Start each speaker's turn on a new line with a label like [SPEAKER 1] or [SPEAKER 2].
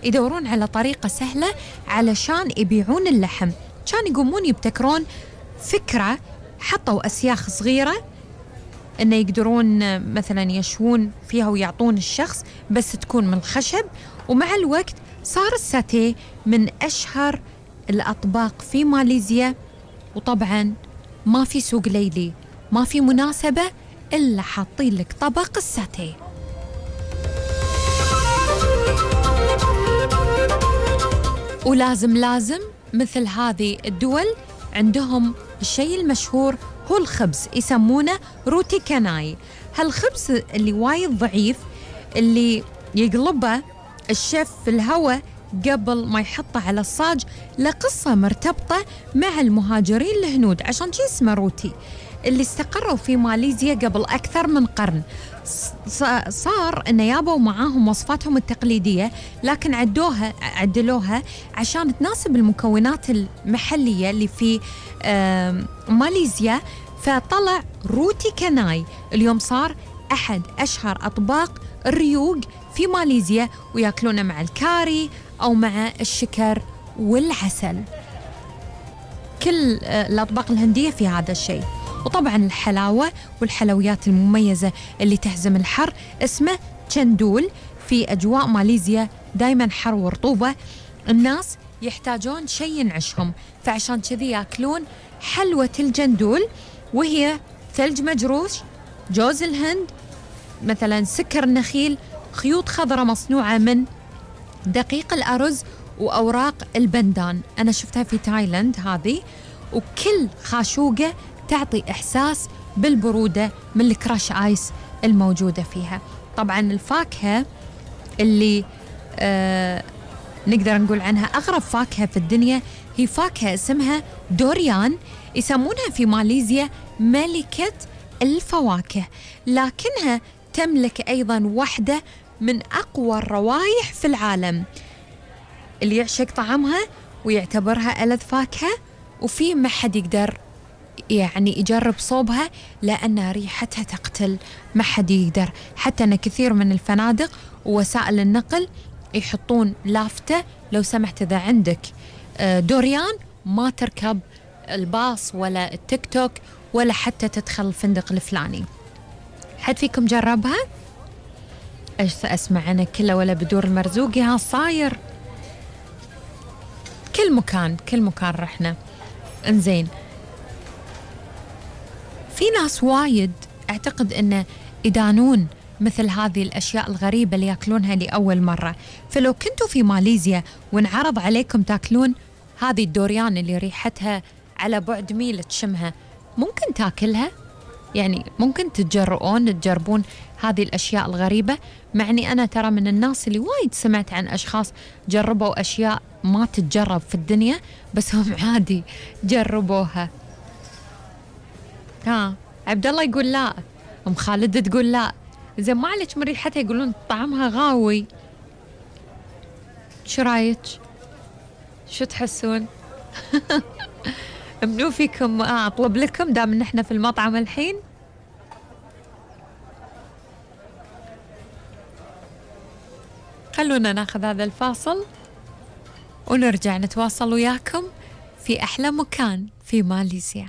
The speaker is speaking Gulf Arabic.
[SPEAKER 1] يدورون على طريقة سهلة علشان يبيعون اللحم. كان يقومون يبتكرون فكرة، حطوا أسياخ صغيرة إنه يقدرون مثلا يشوون فيها ويعطون الشخص، بس تكون من الخشب. ومع الوقت صار الساتيه من أشهر الأطباق في ماليزيا. وطبعا ما في سوق ليلي، ما في مناسبة إلا حاطين لك طبق الساتيه. ولازم مثل هذه الدول عندهم الشيء المشهور هو الخبز، يسمونه روتي كاناي. هالخبز اللي وايد ضعيف اللي يقلبه الشيف في الهواء قبل ما يحطه على الصاج، لقصة مرتبطة مع المهاجرين الهنود، عشان شي اسمه روتي، اللي استقروا في ماليزيا قبل أكثر من قرن. صار إنه يابوا معاهم وصفاتهم التقليدية، لكن عدلوها عشان تناسب المكونات المحلية اللي في ماليزيا. فطلع روتي كاناي. اليوم صار أحد أشهر أطباق الريوق في ماليزيا، ويأكلونه مع الكاري أو مع الشكر والعسل. كل الأطباق الهندية في هذا الشيء. وطبعا الحلاوة والحلويات المميزة اللي تهزم الحر اسمه تشندول. في أجواء ماليزيا دايما حر ورطوبة، الناس يحتاجون شيء ينعشهم، فعشان كذي يأكلون حلوة الجندول، وهي ثلج مجروش، جوز الهند، مثلا سكر النخيل، خيوط خضراء مصنوعة من دقيق الأرز وأوراق البندان. أنا شفتها في تايلاند هذه. وكل خاشوقة تعطي إحساس بالبرودة من الكراش آيس الموجودة فيها. طبعا الفاكهة اللي نقدر نقول عنها أغرب فاكهة في الدنيا هي فاكهة اسمها دوريان. يسمونها في ماليزيا ملكة الفواكه، لكنها تملك أيضا واحدة من أقوى الروائح في العالم. اللي يعشق طعمها ويعتبرها ألذ فاكهة، وفي ما حد يقدر يعني يجرب صوبها لأن ريحتها تقتل، ما حد يقدر. حتى أن كثير من الفنادق ووسائل النقل يحطون لافتة لو سمحت إذا عندك دوريان ما تركب الباص ولا التيك توك ولا حتى تدخل الفندق الفلاني. حد فيكم جربها؟ ايش اسمع انا كله ولا بدور المرزوقي ها صاير كل مكان رحنا. انزين، في ناس وايد اعتقد انه يدانون مثل هذه الاشياء الغريبة اللي ياكلونها لأول مرة. فلو كنتوا في ماليزيا وانعرض عليكم تاكلون هذه الدوريان اللي ريحتها على بعد ميل تشمها، ممكن تاكلها؟ يعني ممكن تجربون هذه الأشياء الغريبة؟ مع أني أنا ترى من الناس اللي وايد سمعت عن أشخاص جربوا أشياء ما تتجرب في الدنيا، بس هم عادي جربوها. عبد الله يقول لا، أم خالد تقول لا. إذا ما عليك من ريحتها يقولون طعمها غاوي. شو رايك؟ شو تحسون؟ منو فيكم أطلب لكم دام إن إحنا في المطعم الحين؟ خلونا ناخذ هذا الفاصل ونرجع نتواصل وياكم في أحلى مكان في ماليزيا.